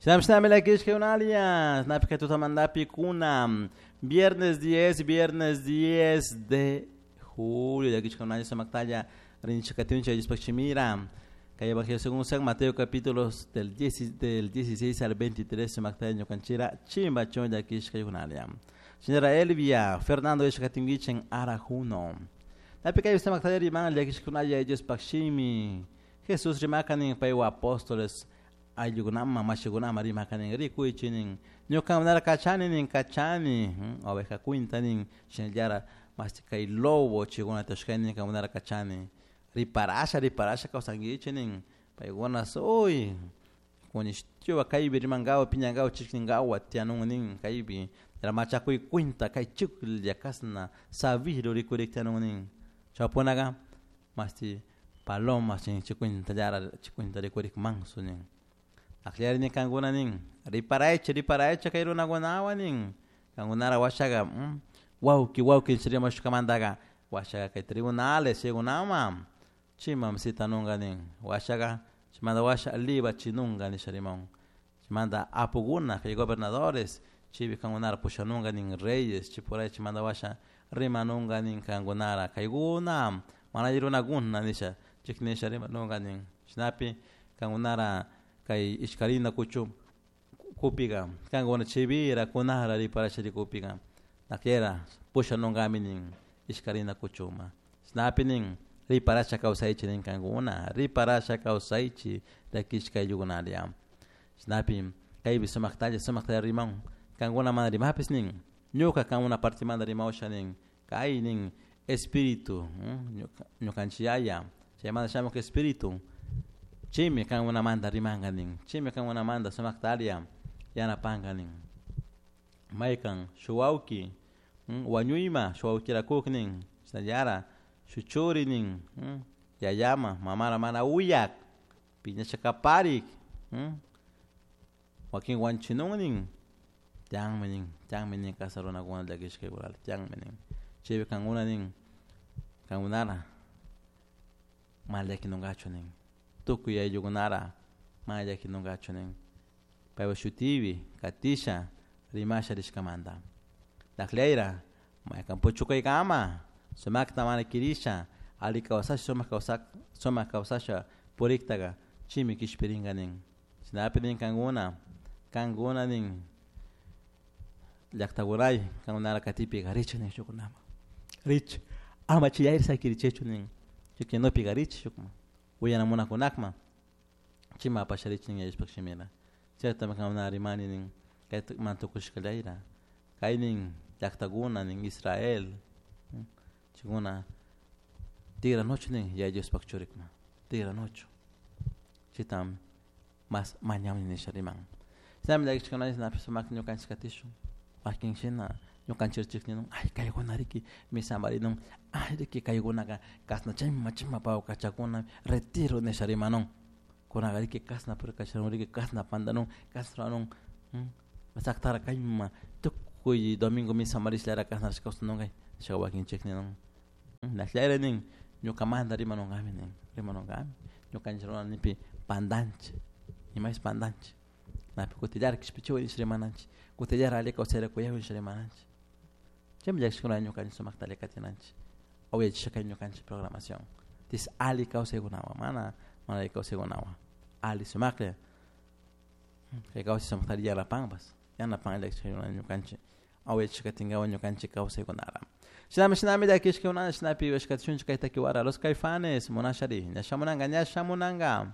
Shinami llakishka Napi kay tutamantapi kuna viernes 10, viernes 10 de julio llakishka sumaktalla rinchik katunchik Diospaj shimira. Kay Evangelio según San Mateo capítulos del 10, del 16 al 23 sumaktalla ñukanchira chimbachun llakishka yunalia. Señora Elvia, Fernando Ishkatinguichen Arajuno. Napi kay sumaktalla riman llakishkunalla Diospaj shimi. Jesús rimakanin paywa apóstoles ayllukunama mashikunama rimakanin rikuychinin ñukamanara kachani nin kachani oveja cuinta nin shinallara masti kay lobo chikuna tashkaynin kankunara kachani riparasha riparasha kawsankichik nin paykuna uy kunishtiwa kaypi rimankawa piñankawa chikninkawa tiyanun nin kaypi machakuy cuinta kay chuklla kasna sabiro rikurik tiyanun nin chaypunaka masti paloma chin chikwintallara chikwinta rikurik manso nin akllari nin kankuna nin riparaychik riparaychik kay runakunawan nin kankunara washaka wawki wawki rimashkamantaka washaka kay tribunales chaykunaman chimam citanunka nin washaka chaymanta washa libachinunka nisha rimawan chaymanta apukuna kay gobernadores chaypi kankunara pushanunka nin reyes chaypuray chaymanta washa rimanunka nin kankunara kaykuna mana alli runakuna nisha chiknisha rimanunka nin chashnapi kankunara kay ishkarina kuchu kupika kankuna chaypira kunara riparasha rikupika nakiera pushanunkami nin ishkarina kuchuma chashnapi nin riparasha kawsaychik nin kankuna riparasha kawsaychik llakishka ayllukunaria chashnapi kaypi sumaktalla sumaktalla rimawan kankuna mana rimapis nin ñuka kankuna partimanta rimawsha nin kay nin espíritu ñukanchik yaya chaymanta shamuk espíritu chaymi kankunamanta rimanka nin chaymi kankunamanta sumaktaria yanapanka nin maykan shuk wawki wañuyma shuk wawkirakuk nin chashnallara shuk churi nin yayama mamara mana uyak piñasha kaparik wakin wanchinun nin tiyanmi nin tiyanmi nin kasa runakuna llakishka tiyanmi nin chaypi kankuna nin kankunara mana llakinunkachu nin tukuy ayllukunara mana llakinunkachu nin paypak shutipi katisha rimasha rishkamanta takllayra maykan puchukaykama sumakta mana kirisha alli kawsasha sumak kawsak sumak kawsasha puriktaka chaymi kishpirinka nin chashnapi nin kankuna kankuna nin llaktakunay kankunara katipika richik nin shukkunaman richik ama chay sakirichikchu nin chay richik shukman uyana munakunakman chayman apasha richik nin yallishpak shimira chaytami kankuna rimani nin kay mana tukushkallayra kay nin llaktakuna nin Israel chaykuna tigranuchu nin Yaya Diospak churikuna tigranuchu chayta mas mañawni nisha riman shinami llakishkuna shinapish sumakta ñukanchik katishun wakin shina ñukanchik chikninun ay kaykuna riki misamarinun ay riki kaykunaka kasna chayma chayma pawkachakuna retiro nisha rimanun kunaka riki kasna purikachanun riki kasna pandanun kasna ruranun saktara kayma tukuy domingo misamarishlara kasna kawsanunka nisha wakinchik ninun nashllayra nin ñukamanta rimanunkami nin rimanunkami ñukanchik runanipi pandanchik imapish pandanchik napi kutillara kishpichiway nisha rimananchik kutillara alli kawsayra kuyaway nisha rimananchik chaymi llakishkuna ñukanchik sumakta alli katinanchik uyachishka kay ñukanchik programación tis alli kawsaykunawan mana mana alli kawsaykunawan alli sumaklla kay kawsay sumakta alli yanapanpas yanapan llakishkuna ñukanchik uyachishka katinkawan ñukanchik kawsaykunara shinami shinami llakishkuna shinapi uyashkatishunchik kay takiwara Los Caifanes munashari ña shamunanka ña shamunanka.